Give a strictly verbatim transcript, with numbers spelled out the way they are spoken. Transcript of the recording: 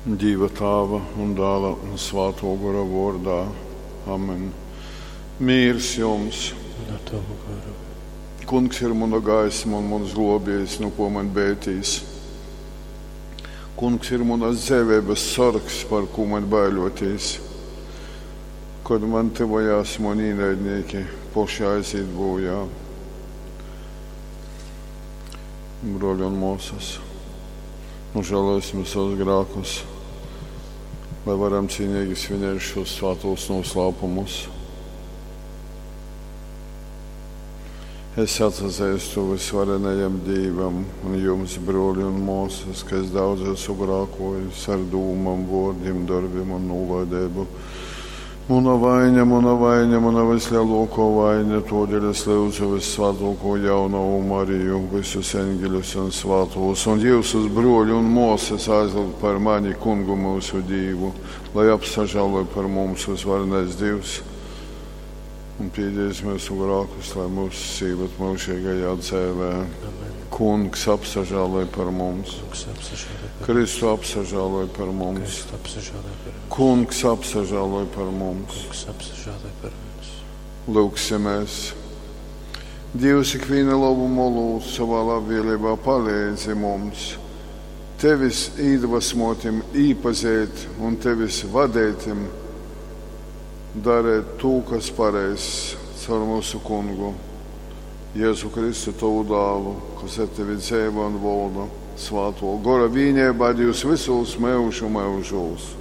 Dīva Tāva un Dāla un Svātō Gora vōrdā. Amen. Mīrs jums! Un ar tavu garu. Kungs ir muna gaisma un muns glōbējs, nu kō maņ beitīs. Kungs ir munas dzeiveibas sorgs, par kū maņ baiļotīs. Kod man tyvojās muni īnaidnīki, poši aizīt bojā. Brōļi un mōsas, nožēlosim savus grākus, lai varam cīnīgi svinēt šos svātos noslēpumus. Es atsazeistu visvarenajam Dīvam un jums, brōļi un mōsas, ka es daudz esmu grākojis ar dūmām, vōrdim, darbim un nūlaideibu. Muna vaiņa, muna vaiņa, muna vislielākā vaiņa, todēļ es lūdzu vissvētāko jaunavu Mariju, visus eņģeļus un svātos, un jūsus brōļi un mōsas aizlūgt par mani kungu mūsu Dīvu, lai apsažāloj par mums uzvarenais Dievs un piedies mūsu grākus, lai mūs sīvat mūžīgajā dzēvē. Amen. Kungs apsažāloj par mums, Kungs apsažāloj par Kristu apsažāloj par mums, Kristu apsažāloj par mums. Kungs apsažāloj par mums. Kungs apsažāloj par mums. Lūksimies! Dievs ikviena labuma olūts savā labvēlībā palīdzi mums, tevis iedvesmotim īpazīt un tevis vadētim darēt to, kas pareizs caur mūsu kungu, Jēzu Kristu tavu dālu, kas ar tevi dzīvo un valda svāto gora vīnībā Dievs visos mūžu mūžos.